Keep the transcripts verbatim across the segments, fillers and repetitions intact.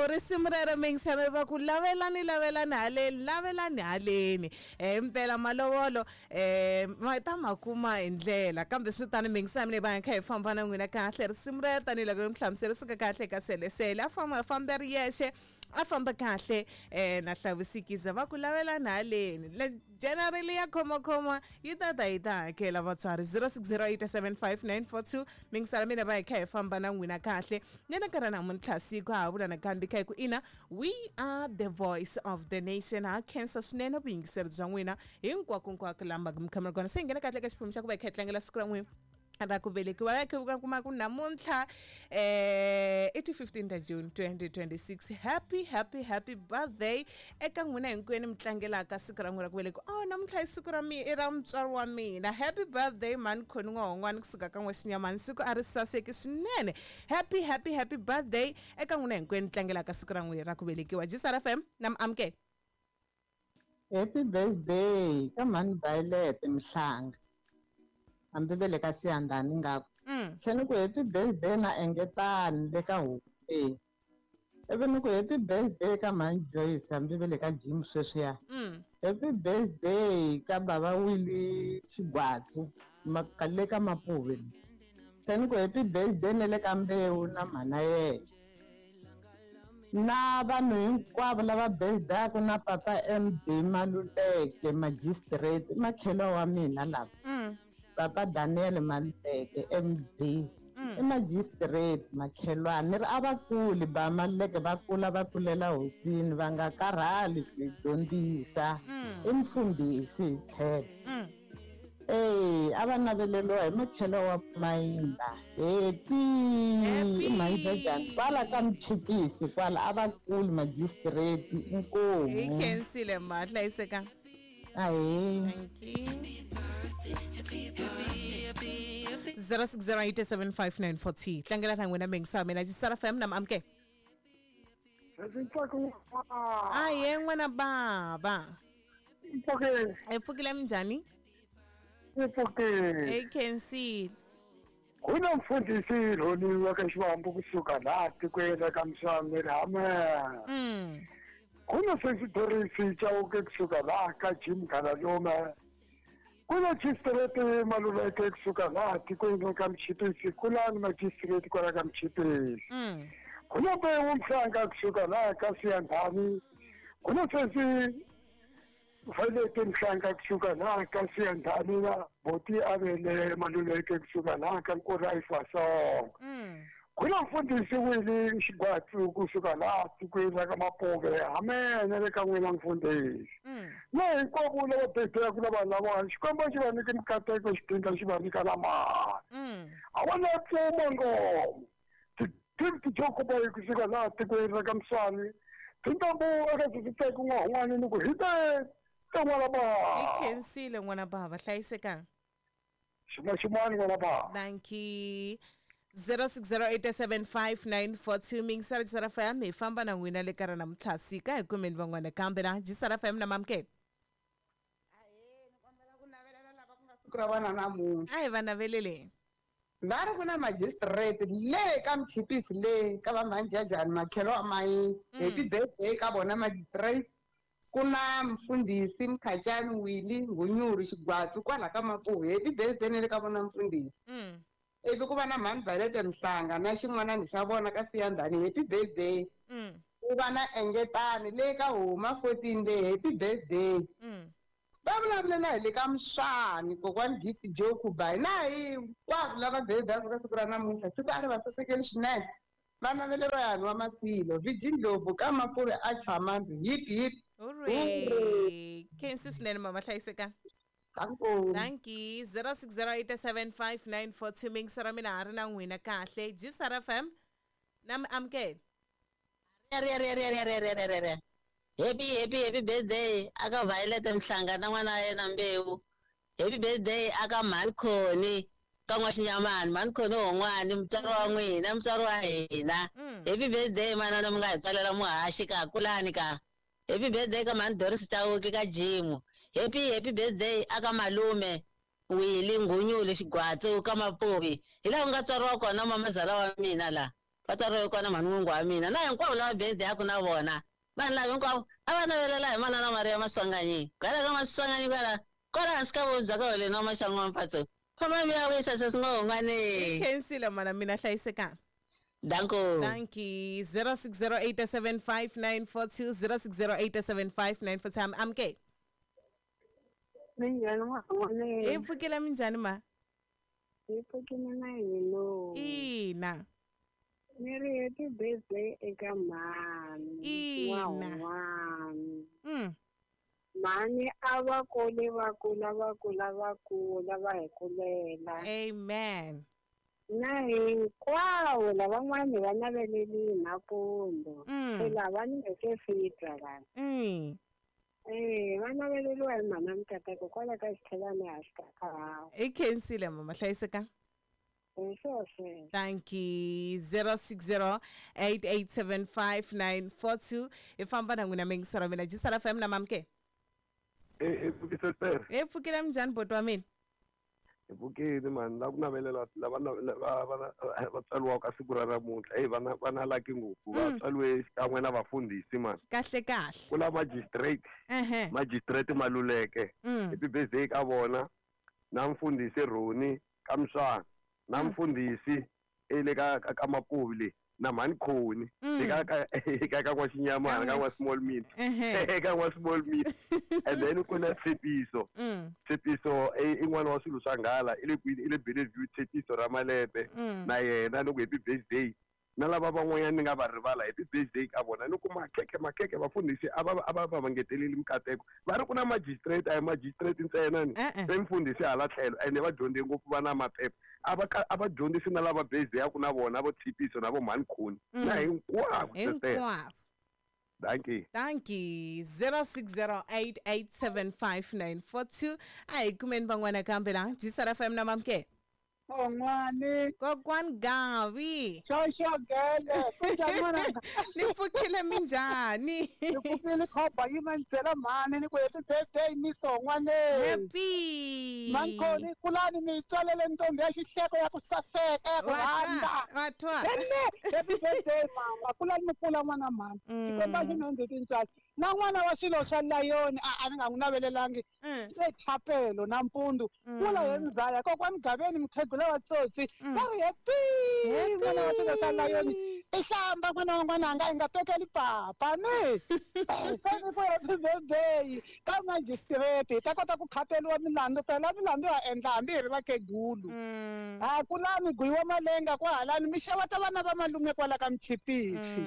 Risimu rero mingisame va ku lavelani lavelani haleni lavelani haleni. Eh impela malovolo eh ma ta ma kuma hi ndlela kambe swi tani mingisame leyi va kha hi famba na n'wina kahle. Risimu rero tanihiloko mi hlamusela suka kahle ka selesele a famba famba ri yexe a famba kahle eh na hlavusikiza va ku lavelani haleni. Le generally ya khoma khoma yi ta ta yi ta hakela vatswari. Zero six zero eight seven five nine four two mingisala mina va hi kha hi famba na n'wina kahle nena nkarhi namuntlha siku ha vula nakambe kha hi ku ina we are the voice of the nation. Ha khensa swinene vuyingiseri bya n'wina hinkwakonkwako lama mi kha mi ri kona. Se hi nghena kahle ka xiphemu xa ku va hi kha hi tlangela siku ra n'wina ra ku velekiwa va kha va kuma ku namuntlha eh i ti fifteen ta June twenty twenty-six. Happy happy happy birthday eka n'wina hinkwenu mi tlangelaka siku ra n'wina ra ku velekiwa. Oh namuntlha i siku ra mi i ra mutswari wa mina. Happy birthday mani khoni n'wahon'wana kusuka ka n'wexinyamani siku a ri saseki swinene. Happy happy happy birthday eka n'wina hinkwenu mi tlangelaka siku ra n'wina ra ku velekiwa. G S R F M na mi amukela. Happy birthday ka mhani Violet Mhlanga. Hambi ve le ka Siyandhani ngaku. Tlhela ku happy birthday na Engetani le ka Huku. Ivi ni ku happy birthday ka mhani Joyce hambi ve le ka Jim sweswiya. Happy birthday ka bava Willie Xigwatsu le ka Mapuve. Tlhela ni ku happy birthday na le ka Mbewu na mhana yena. Na vanhu hinkwavo lava birthday na papa M D Maluleke magistrate makhelwa wa mina lava. Papa Daniel Maluleke M D i magistrate makhelwani ni ri a va kuli ba Maluleke va kula va kulela hosini va nga karhali ku dyondzisa i mfundhisi hi tlhelo. Eh a va naveleriwa hi makhelo wa Mayinda. Happy Mayinda kwala ka Mchipisi kwala a va kuli magistrate inkomu. Hi khensile ma hlayiseka. Ahe. Thank you. zero six zero eight seven five nine four two. Tlangela na n'wina mingisa mina G S R F M na amke. Aye n'wana baba. Mpfukile. E pfukile minjhani? Mpfukile. E khensile. Ku na mfundhisi Rhoni wa ka Xiwambu kusuka laha tikweni ra ka Mswami Rhame. Mm. Ku na sesi Doris Chauke kusuka laha ka Jim Kalalume. Ku na magistrate Maluleke kusuka laha tikweni ka Mchipisi, ku na magistrate kwala ka Mchipisi. Mm. Ku na Mbewu Mhlanga kusuka laha ka Siyandhani. Ku na sesi Violet Mhlanga kusuka laha ka Siyandhani na Boti Avele Maluleke kusuka laha ka Nkura Ifasonga. Mm. Ku na mfundhisi Willie Xigwatsu kusuka laha tikweni ra ka Mapuve. Amen le ka n'wina mfundhisi. Na hinkwavo lava birthday-aku na vanhu lavawani Xikwembu xi va nyike mikateko xi phinda xi va nyika na mali. A va na pfuma ngoma. Ti-gift Jokoboyi kusuka laha tikweni ra ka Mswani. Tintambu eka Sisiteki n'wahun'wani ni ku hi te te n'wana bava. Hi khensile n'wana bava hlayisekanga. Xin'wana xin'wana n'wana bava. Thank you. zero six zero eight seven five nine four two mingisara G S R F M hi famba na n'wina le ka ra namuntlha sika hi kumeni van'wana kambe na G S R F M na mamukela. Ahe ni kombela ku navelela lava ku nga siku ra vona namuntlha. A hi va naveleleni. Va ri ku na magistrate le ka Mchipisi le ka va Manjajani makhelo wa Mayini. Happy birthday ka vona magistrate. Ku na mfundhisi Mkhachani Willie Ngunyuri Xigwatsu kwala ka Mapuve. Happy birthday ne le ka vona mfundhisi. Mm. Ivi ku va na mhani Violet Mhlanga na xin'wanani xa vona ka Siyandhani. Happy birthday. Mm. Ku va na Engetani le ka Huma fourteen le. Happy birthday. Mm. Va vulavulela hi le ka Mswani kokwani Gift Jokubai na hinkwavo lava birthday ka siku ra namuntlha siku a ri va sasekeli swinene. Va naveleriwa yani wa Masilo Virgin Ndlovu ka Mapuve a Chamambi. Hip hip. Hooray. Khensi swinene mama hlayiseka. Thank you. zero six zero eight seven five nine four two mingisara mina ha ri na n'wina kahle. G S R F M na mi amukela. Re re re re re re re re. Happy happy happy birthday aka Violet Mhlanga na n'wana wa yena Mbewu. Happy birthday aka Malkhoni ka N'waxinyamani Malkhoni wun'wani mutswari wa n'wina mutswari wa hina. Happy birthday manana mi nga hi tswalela muhaxi ka kulani ka. Happy birthday ka mhani Doris Chauke ka Jim. Happy happy birthday aka malume Willie Ngunyule Xigwatsu ka Mapuvi. Hi laha ku nga tswariwa kona mamazala wa mina la. Va tswariwe kona mhani n'wingi wa mina na hinkwavo lava birthday yaku na vona vanhu lava hinkwavo a va navelela hi manana Maria Maswanganyi kwala ka Maswanganyi kwala kwala hansi ka vubya ka holeni wa maxangu wa mphatso famba mi ya wisa sesingongwane. Khensile mana mina hlayisekanga. Danko. Thank you. zero six zero eight seven five nine four two zero six zero eight seven five nine four two. I'm K. Minjhani n'wana? I pfukile minjhani ma? Hi pfukile na hina. Ina. Ni ri happy birthday eka mhani. Ina. Mm. Mhani a va kule va kula va kula va kula va hi kulela. Amen. Na hinkwavo lavan'wani va naveleli nampundzu. Se lava ni nge se fika la. Mm. Eh, va naveleliwa hi mhana Mikateko kwala ka xithelani a xi ka. I khensile mama hlayiseka. Thank you. zero six zero eight eight seven five nine four two. I famba na n'wina mingisara mina Jisara F M na mamke. Eh, eh, eh, pfukile minjhani boti wa mina? Hi pfukile mani la ku navelela lava va va tswariwaka siku ra namuntlha eyi vana va na laki ngopfu va tswariwe xikan'we na vafundhisi mani. Kahle kahle. Ku la magistrate. Magistrate Maluleke. Happy birthday ka vona na mfundhisi Roni ka Mswana na mfundhisi ele ka ka Mapuvi le na mhani Khoni eka ka ka ka N'waxinyamana ka N'wa Small Meat eka N'wa Small Meat. And then ku na Tshepiso. Tshepiso i n'wana wa swilo swa nghala i le kwini i le Bellevue Tshepiso ra Malepe na yena loko happy birthday na lava van'wanyana ni nga va rivala happy birthday ka vona ni ku makhekhe makhekhe vafundhisi a va a va va ngeteleli mikateko va ri ku na magistrate a hi magistrate ntsena ni se mfundhisi hala tlhelo ene va dyondze ngopfu va na maphepha a va a va dyondzisi na lava birthday ya ku na vona vo Tshepiso na vo mhani Khoni na hinkwavo. Hinkwavo. Thank you. Thank you. zero six zero eight eight seven five nine four two. A hi kumeni van'wana kambe la Jisara F M na mamke. Kokwane. Kokwane Gavi. Xoxo gele. Kunjani n'wananga? Ni pfukile minjhani? Ni pfukile khoba yi ma ni byela mhani ni ku happy birthday mison'wane. Happy. Mankhoni kulani mi tswalele ntombi ya xihleko ya ku saseka ya ku rhandza. Watwa. Happy birthday mama. Kulani mi kula n'wana mhani. Xikwembu a xi mi endli tintswalo. Na n'wana wa swilo swa layoni a a ni nga n'wi navelelangi. E chapelo nampundzu. Kula hi mzaya kokwani Gaveni mukhegula wa tsotsi. Va ri happy n'wana wa swilo swa layoni. I hlamba n'wana wa n'wananga i nga tekeli papa ni. Se ni ku happy birthday ka magistrate hi ta kota ku khateliwa milandzu phela milandzu ya endla hambi hi ri vakhegulu. Ha kulani guyiwa malenga kwahalani mi xeweta vana va malume kwala ka Mchipisi.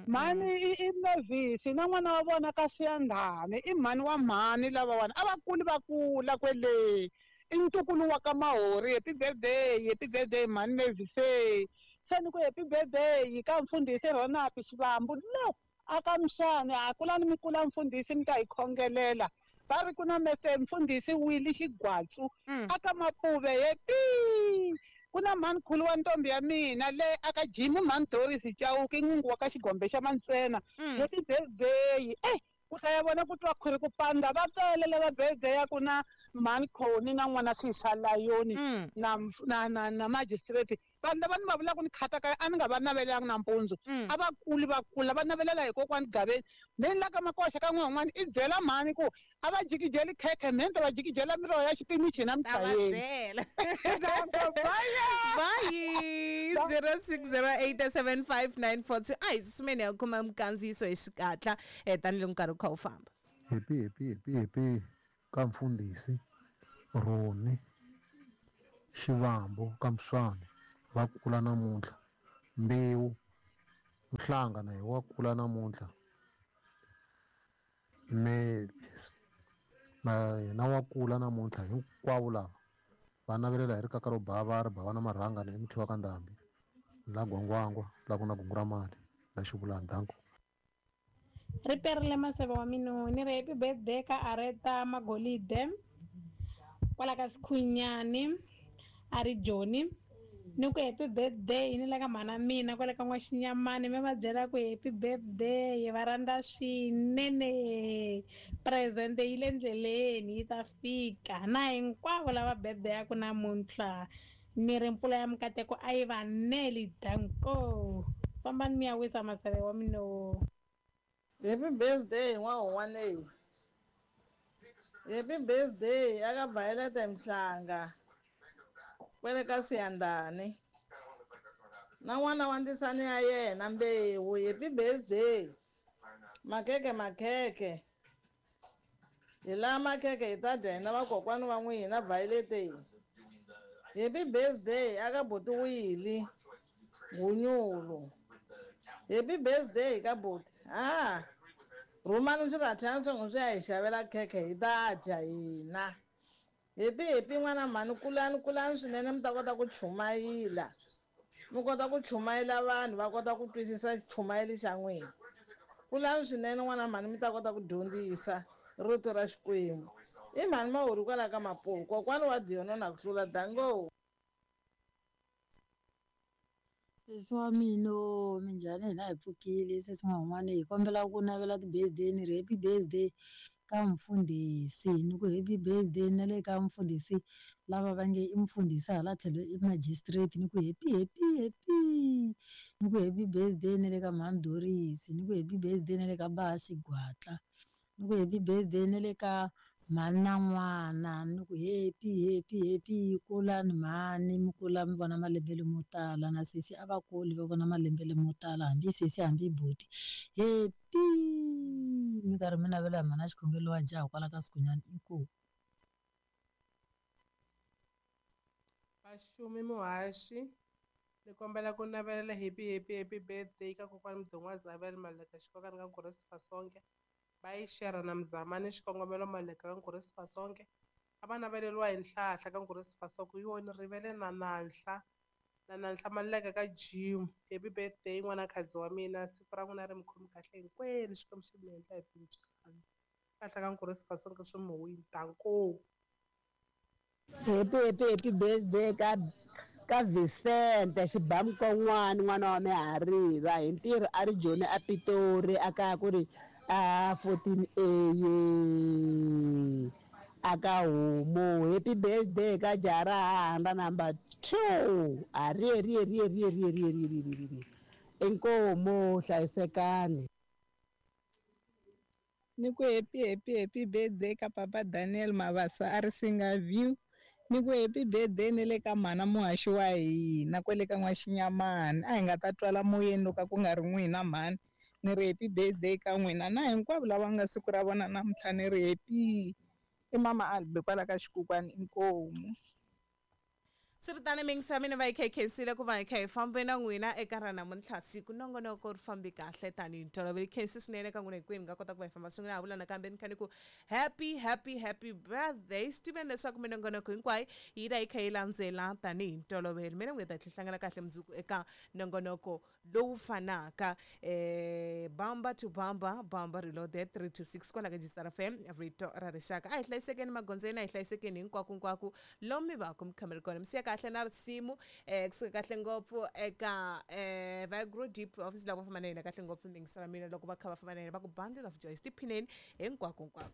Mhani i Mevisi na n'wana wa vona ka Siyandhani i mhani wa mhani lavawani a va kuli va kula kwele i ntukulu wa ka Mahori. Happy birthday happy birthday mhani Mevisi. Se ni ku happy birthday ka mfundhisi Ronald Xivambu lo aka Mswane a kulani mi kula mfundhisi mi ta hi khongelela. Va ri ku na mese mfundhisi Willy Xigwatsu aka Mapuve happy. Ku na mhani khulu wa ntombi ya mina le aka Jimmy mhani Doris Chauke n'wingi wa ka Xigombe xa Mantsena. Happy birthday. Eh ku hlaya vona ku twa khwiri ku panda va tele lava birthday ya ku na mhani Khoni na n'wana swiswa layoni na na na na magistrate. Vanhu lava ni va vulaka ni khata ka a ni nga va navelelanga nampundzu a va kuli va kula va navelela hi kokwani Gaveni. Then la ka Makoxa ka n'wan'wana i byela mhani ku a va jikijeli khekhe mhe ni ta va jikijela miroho ya xipinichi na mchayeni. Bye. zero six zero eight seven five nine four two. A hi susumeni ya kuma minkandziyiso hi xikatla tanihiloko nkarhi wu kha wu famba. Happy happy happy happy ka mfundhisi Roni Xivambu ka Mswane va kula namuntlha. Mbewu Mhlanga na wa kula namuntlha. Me na yena wa kula namuntlha hinkwavo lava va navelela hi rikaka ro bava ri bava na marhanga na emuthiwa ka ndhambi la gwangwangwa la ku na gungu ra mali la xivulani. Danko. Ri perile maseve wa mina ni ri happy birthday ka Areta Magolide kwala ka Sikhunyani a ri Joni. Ni ku happy birthday ni le ka mhana mina kwale ka N'waxinyamani mi va byela ku happy birthday va rhandza swinene present yi le ndleleni yi ta fika na hinkwavo lava birthday ya ku namuntlha ni ri mpfula ya mikateko a yi va neli. Danko. Fambani mi ya wisa maseve wa mino. Happy birthday n'wahun'wana. Happy birthday aka Violet Mhlanga. Kwele ka Siyandani. Na n'wana wa ndisani ya yena Mbewu, happy birthday. Makeke makeke. Hi laha makeke hi ta dya hina vakokwani va n'wina Violet. Happy birthday aka buti Willy Gunyulu. Happy birthday ka buti. Ah. Rhumani swirathana swa swi ya hi xavela khekhe hi ta dya hina. Happy happy n'wana mhani, kulani kulani swinene mi ta kota ku chumayila. Mi kota ku chumayela vanhu va kota ku twisisa xichumayeli xa n'wina. Kulani swinene n'wana mhani mi ta kota ku dyondzisa rito ra Xikwembu. I mhani Mahuri kwala ka Mapuku, kokwani wa Diono na ku hlula dango. Sesi wa mina, minjhani? Hina hi pfukile sesi n'wan'wana, hi kombela ku navela ti-birthday ni ri happy birthday ka mfundhisi, ni ku happy birthday na le ka mfundhisi lava va nge i mfundhisi hala tlhelo i magistrate, ni ku happy happy happy, ni ku happy birthday na le ka mhani Doris, ni ku happy birthday na le ka Baha Xigwatla, ni ku happy birthday na le ka mhani na n'wana, ni ku happy happy happy kulani mhani, mi kula mi vona malembe lamo tala, na sesi a va kuli va vona malembe lamo tala, hambi sesi hambi buti, happy mi karhi mi navela hi mhana xikhongelo wa jaha kwala ka Sikunyana. Inkomu. Vaxumi muhaxi, ni kombela ku navelela happy happy happy birthday ka kokwani Mudongwa Zabel Maleka Xikokani ka Nkurisi Fasonke. Va yi share na Mzamani xikongomelo Maleka ka Nkurisi Fasonke. A va naveleriwa hi nhlahla ka Nkurisi Fasonke, yi wona rivele na nanhla na nanhla Maleka ka Jim. Happy birthday n'wana khadzi wa mina, siku ra n'wina ri mi khomi kahle hinkwenu, Xikwembu xi mi endla hi tintswalo. Nhlahla ka Nkurisi Fasonke swi mi wini danko. Happy happy happy birthday ka ka Vicente Xibamkon'wana n'wana wa Mihariva, hi ntirho a ri Joni a Pitori a kaya ku ri a fourteen A aka Homu. Happy birthday ka Jarahanda number two. A ri ri ri ri ri ri ri ri ri. Inkomu, hlayisekani. Ni ku happy happy happy birthday ka papa Daniel Mabasa a ri Singa View. Ni ku happy birthday ni le ka mhana muhaxi wa hina kwale ka N'waxinyamani, a hi nga ta twala moyeni loko ku nga ri n'wina mhani. Ni ri happy birthday ka n'wina na hinkwavo lava nga siku ra vona namuntlha, ni ri happy. I mama Albe kwala ka Xikukwani. Inkomu. Swi ri tani mingisa mina va yi kha yi khensile ku va hi kha hi fambe na n'wina eka ra namuntlha siku nongonoko ri fambi kahle tanihi ntolovelo. Khensi swinene ka n'wina hinkwenu mi nga kota ku va hi famba swin'we. Ha vula nakambe ni kha ni ku happy happy happy birthday. Swi tiveni leswaku minongonoko hinkwayo yi ta yi kha yi landzela tanihi ntolovelo. Mina n'wi ta hlangana kahle mundzuku eka nongonoko lowu fanaka, eh bamba to bamba bamba reloaded three to six kwala ka G S R F M, rito ra rixaka. A hi hlayisekeni magondzweni, a hi hlayisekeni hinkwako hinkwako lomu mi va ku mi kha mi ri kona. Mi siya kahle na risimu eh kusuka kahle ngopfu eka eh Vigro Deep Office lava famba na yena kahle ngopfu mingisela mina loko va kha va famba na yena va ku Bundle of Joy. Tiphineni hinkwako hinkwako.